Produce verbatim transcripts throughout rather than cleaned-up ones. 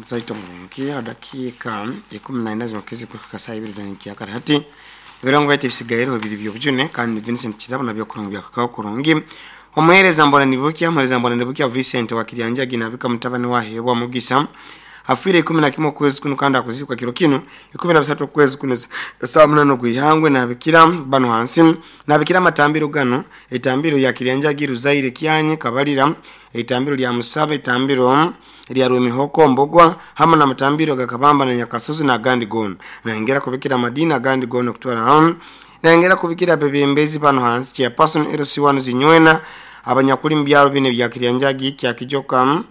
Musaita murungi adakiika ikumi na ina zimakizi kuhika saa ibiri za nkyakara hati ebirango byaitu ebisigaire bibiri byobujune kandi Vincent Kirabo nabyo kurungi byakakaho kurungi. Omuheereza mbona nibukya omuheereza mbona nibukya Vincent wa Kiryanjagi nabika mutabani wahebwa mugisa afiire ikumi na kimwe okwezi kuno kandi akuzikwa kiro kino ikumi na bisatu okwezi kuno saa munana ogw'ihangwe. Nabikira bano hansi nabikira amatambiro gano etambiro ya Kiryanjagi Ruzaire Kyanyi Kabalira, etambiro lya Musaba, etambiro lya Rwemihoko Mbogwa hamwe n'amatambiro gakabamba na Nyakasozi n'agandi gona. Nayongera kubikira amadini agandi gona kutwara hamwe. Nayongera kubikira abebembezi bano hansi chairperson L C one Zinywena abanyakuli mu byalo bine bya Kiryanjagi kya Kijoka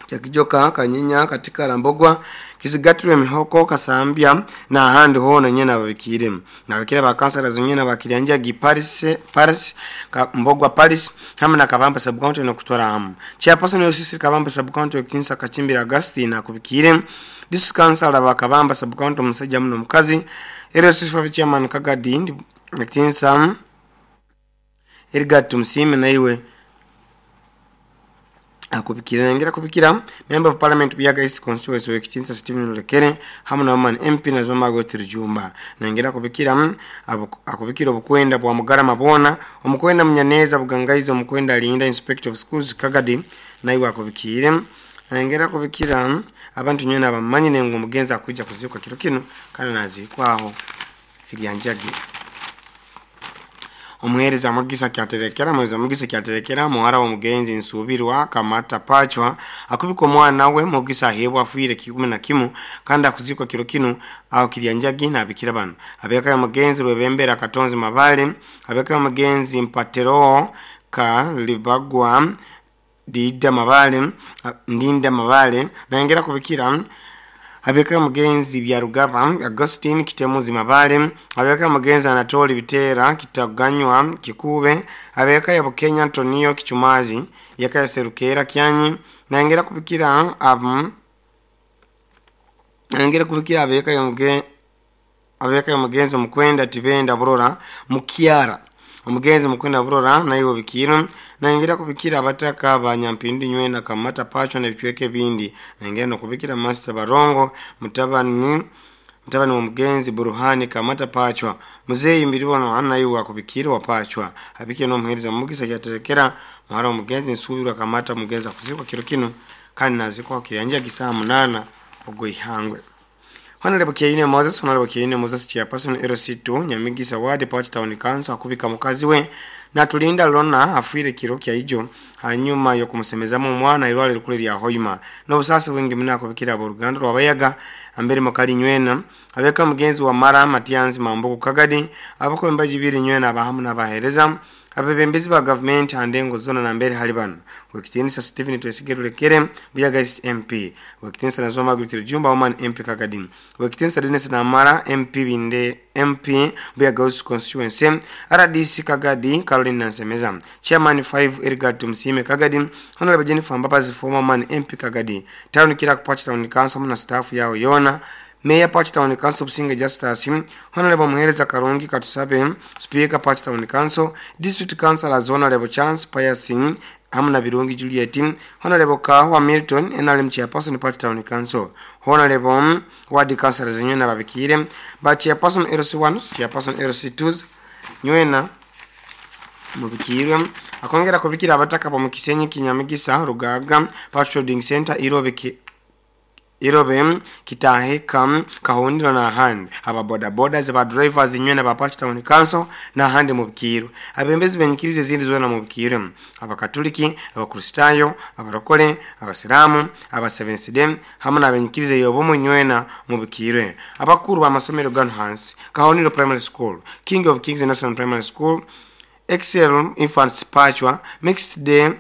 kya Kijoka Kanyinya katika Rambogwa Kisigatirwe Mihoko Kasambya na ahandi hona nyena ababikire. Nabikira ba kansala zinywena ba Kiryanjagi Paris Paris ka, Mbogwa Paris hamwe na Kabamba sub county no kutwara hamwe. Chairperson L C Kabamba sub county Kinsa Kachimbira Augustine akubikire. District council ba Kabamba sub county omusajja muno mukazi L C five chairman Kagadi Kinsa Edgar Tumsime naiwe akubikira. Nengera kubikira member of parliament Buyaga East constituency wekitinsa Stephen Lekere hamwe na woman M P na Zoma Gotri Jumba. Nengera kubikira akubikira obukwenda bwa Mugarama bona omukwenda Munyaneza Bugangaizo omukwenda Linda inspector of schools Kagadi naiwe akubikire. Nengera kubikira abantu nyene abamanyi nengo omugenzi akujja kuzikwa kiro kino kandi nazikwaho Kiryanjagi. Omuheereza Mugisa kyaterekera omuheereza Mugisa kyaterekera muhara w'omugenzi Nsubirwa Kamata Pachwa akubika omwana we Mugisa ahebwa afiire kikumi na kimu kandi akuzikwa kiro kino aho Kiryanjagi nabikira bano abeka ya mugenzi Rwebembera Katonzi Mabale, abeka ya mugenzi Mpatero ka Libagwa Dida Mabale Ndinda Mabale. Nayongera kubikira abeka mugenzi Byarugaba Augustine Kitemuzi Mabale, abeka mugenzi Anatoli Bitera Kitaganywa Kikube, abeka ya Bukenya Antonio Kichumazi yaka Serukera Kyanyi. Nayongera kubikira abu nayongera kubikira abeka ya mugenzi abeka ya mugenzi Mukwenda Tibenda Burora Mukiara omugenzi Mukwenda Burora nayo bikiro. Nayongera kubikira abataka abanyampindu nywena Kamata Pachwa n'ebicweke bindi. Nayongera no kubikira Master Barongo mutabani mutabani wa mugenzi Buruhani Kamata Pachwa muzeyi mbiribono nayo akubikira wa Pachwa abike no muhereza Mugisa kyaterekera muhara omugenzi Nsubirwa Kamata mugenzi akuzikwa kiro kino kandi nazikwa Kiryanjagi saa munana ogw'ihangwe. Honorable Kiyine Moses, Honorable Kiyine Moses chairperson L C two Nyamigisa Ward Party Town Council akubika mukazi we Natulinda Lona afiire kiro kya ijo hanyuma yokumusemezamu omwana irwale rukule lya Hoima n'obusasi bwingi muno akubikira aboluganda lwabayaga ambere mukali nywena abeka mugenzi wa Mara Matianzi Mambuku Kagadi abako embaji biri nywena abahamu n'abahereza abebembezi ba government andengo zona na mbere hali bano wekitinisa Stephen Twesige Lekere Buyaga East M P, wekitinisa Nazoma Gritiri Jumba woman M P Kagadi, wekitinisa Dennis Namara M P Binde M P Buyaga East constituency, R D C Kagadi Caroline Nansemeza chairman five Edgar Tumsime Kagadi, Honorable Jennifer Mbabazi former man M P Kagadi, town Kirak Party Town Council na staff yao yona Mayor Party Town Council Businge Justus, Honorable Muhereza Karungi Katusabe, Speaker Party Town Council, District Councilors Honorable Chance Payasing, Amna Birungi Juliet, Honorable Kahwa Milton, N R M Chairperson Party Town Council, Honorable Ward Councilors Nywena Babikire, ba Chairperson L C one, Chairperson L C two, Nywena mubikirwe. Akongera kubikira abataka pa Mukisenyi Kinyamigisa Rugaga Party Trading Center Irobe Irobe Kitaheka Kahondiro na ahandi aba boda boda za drivers nywena ba Party Town Council na ahandi mubikiro abembezi benyikirize zindi zona mubikiro abakatoliki abakristayo abarokole abasilamu aba Seventh Day hamwe n'abenyikirize yobo nywena mubikiro abakuru bamasomero gano hansi Kahondiro Primary School, King of Kings National Primary School, Excel Infants Pachwa Mixed Day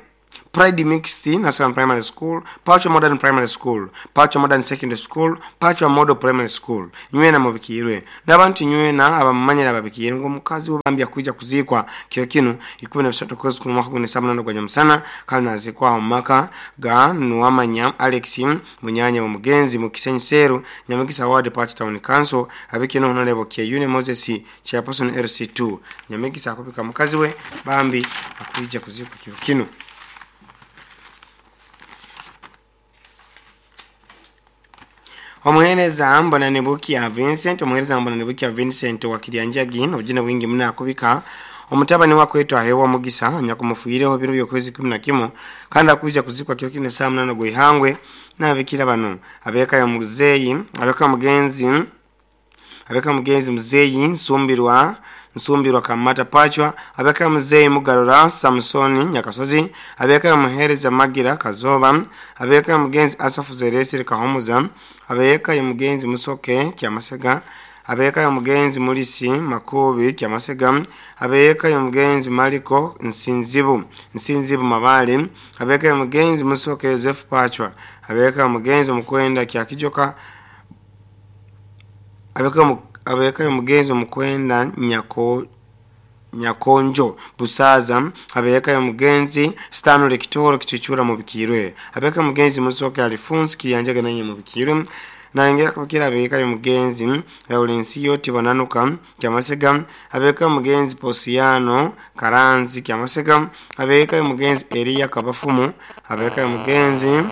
Pride Mixed National Primary School, Pachwa Modern Primary School, Pachwa Modern Secondary School, Pachwa Model Primary School. Nywena mubikirwe n'abantu nywena abamanyira babikirwe ngo mukazi wabambya kuja kuzikwa kyo kino ikumi na bisatu kwezi ku mwaka gune sabana gwa nyamusana kandi nazikwa mu maka ga Nuwamanya Alex Munyanya wa mugenzi mu Kisenyi Seru Nyamigisa Ward Party Town Council abikino Honorable Kiyune Moses Chairperson L C two Nyamigisa akubika mukazi we bambi akuija kuzikwa kyo kino. Omuhereza Mbonanibukia Vincent, omuhereza Mbonanibukia Vincent wa Kiryanjagi obujune bwingi muno akubika omutabani wakwetwa aheebwa Mugisa anyakumufiireho biro by'okwezi kumi na kimu kandi akuija kuzikwa kiro kino saa munana gw'ihangwe. N'ababikira bano abeeka ya muzeeyi, abeeka mugenzi, abeeka mugenzi muzeeyi Nsumbirwa Nsumbirwa Kamata Pachwa, abeeka muzeeyi Mugarura Samsoni Nyakasozi, abeeka muhereza Magira Kazoba, abeeka mugenzi Asafu Zeresire Kahumuza, abeeka mugenzi Musoke Kyamasega, abeeka mugenzi Mulisi Makubi Kyamasega, abeeka mugenzi Maliko Nsinzibu Nsinzibu Mabale, abeeka mugenzi Musoke Joseph Pachwa, abeeka mugenzi Mukwenda Kyakijoka, abeeka abeeka mugenzi Mukwenda Nyako Nyakonjo Busaza, abeeka mugenzi Stanley Kitoro Kichuchura mubikirwe, abeeka mugenzi Musoke Alphonse Kiryanjaga nanye mubikirwe. Nangera kubikira abeeka mugenzi Laurensiyo Tibananuka Kyamasega, abeeka mugenzi Posiano Karanzi Kyamasega, abeeka mugenzi Elia Kabafumu, abeeka mugenzi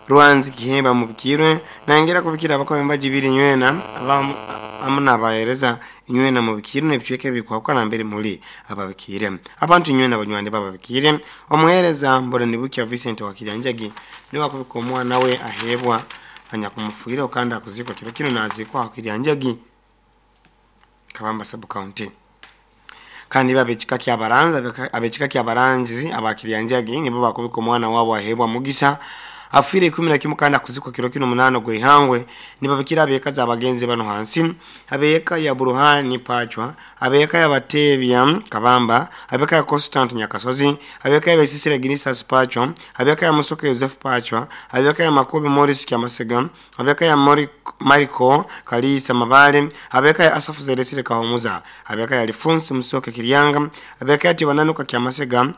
Rwanzi Kihemba mubikirwe. Nangera kubikira abakomba jibiri nywena abamu nabahereza nywena mubikirwe n'ebicweka ebikwakana mbere muri ababikire abantu nywena abanywani bababikire. Omuhereza Mbonanibukia Vincent wa Kiryanjagi niwe akubika omwana we aheebwa anyakumufuira kandi akuzikwa kiro kino nazikwa Kiryanjagi Kabamba sub county. Kandi babekika kyabaranza abekika kyabaranzi abakiryanjagi nibo bakubika omwana wabo aheebwa Mugisa afire ikumi na kimu kandi akuzikwa kiro kino munano gw'ihangwe. Nibabikira abekaza abagenzi bano hansi abeka ya Buruhani Pachwa, abeka ya Batebya Kabamba, abeka ya Constant Nyakasozi, abeka ya Besisira Ginisas Pachwa, abeka ya Musoke Joseph Pachwa, abeka ya Makubi Morris Kyamasega, abeka ya Mariko Kalisa Mabale, abeka ya Asafu Zeresire Kahumuza, abeka ya Alphonse Musoke Kiryanga, abeka ya Tibananuka Kyamasega,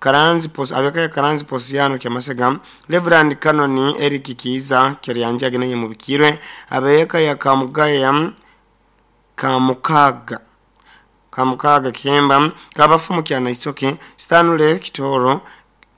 Karanzi Pos, abeka ya Karanzi Posiano Kyamasega, Reverend Kanoni Eric Kiza Kiryanjagi nanye mubikirwe, abeka ya Kamugaya Kamukaga Kamukaga Kiemba, Kabafumu Kyana Isoke, Stanley Kitoro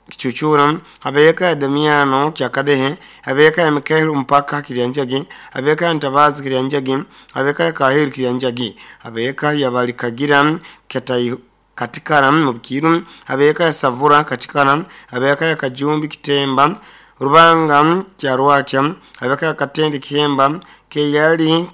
Kichuchura, abeka ya Damiano Kyakadehe, abeka ya Mikael Mpaka Kiryanjagi, abeka ya Ntabazi Kiryanjagi, abeka ya Kahiri Kiryanjagi, abeka ya Balikagira Katayi Katikara mubikiru, abeka ya Savura Katikara, abeka ya Kajumbi Kitemba Rubanga Kyarwakya, abeka ya Katendi Kihemba Keyali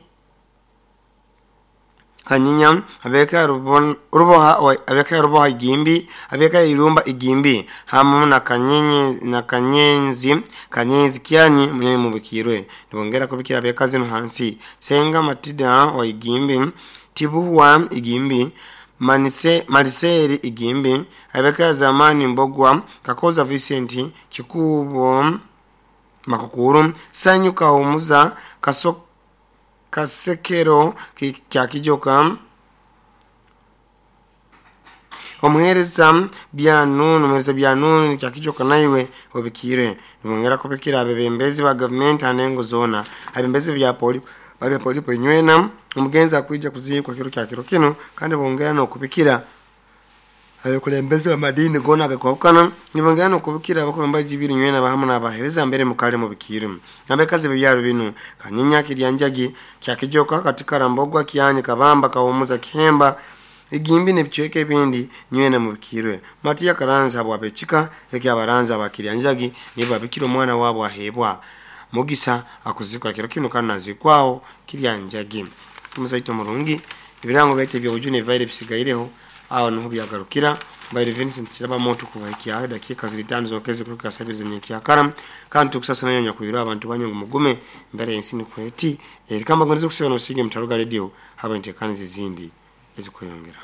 Kanyinya, abeka ya Ruboha abeka ya Ruboha Igimbi, abeka ya Irumba Igimbi hamu na Kanyenye na Kanyenzi Kanyenzi Kyanyi munye mubikirwe. Nibongera kubikira abeka zino hansi Senga Matida wa Igimbi, Tibuwa Igimbi, Manise Mariseri Igimbi, abeka zamani Mbogwa Kakoza Vincent Kikubo Makukuru, Sanyu Kahumuza Kaso Kasekero Kyakijoka, omuhereza Byanunu omuhereza Byanunu Kyakijoka naiwe obikire. Nibongera kubikira abebembezi ba government anengo zona abembezi bya poli babya polipo nywena omugenzi akuija kuzikwa kiro kya kiro kino kandi bongera nokubikira abakulembeze ba madini gona agakwakana. Nibongera nokubikira abakomba jibiri nywena bahamu n'abahereza mbere mukale mubikire. Nabekazi byaro bino Kanyinya Kiryanjagi Kyakijoka katika Rambogwa Kyanyi Kabamba Kahumuza Kihemba Igimbi n'ebicweka ebindi nywena mubikirwe. Matiya Karanzi abo abekika ekyabaranzi abakiryanjagi nibo babikira omwana wabo aheebwa Mugisa akuzikwa kiro kino kandi nazikwao Kiryanjagi. Muzaito murungi ebirango byete byobujune bibaire bisigaireho aho niho byagarukira. Mbaire Vincent Kiraba moto kubahikia dakika ziri tano zokeze kuruka sabiri zenye kyakara kandi tukusasa nayo nyakubira abantu banyu mugume mbere ensini kweti erikamba ngonizo kuseba no sige mutaruga radio haba intekanize zindi ezikweyongera.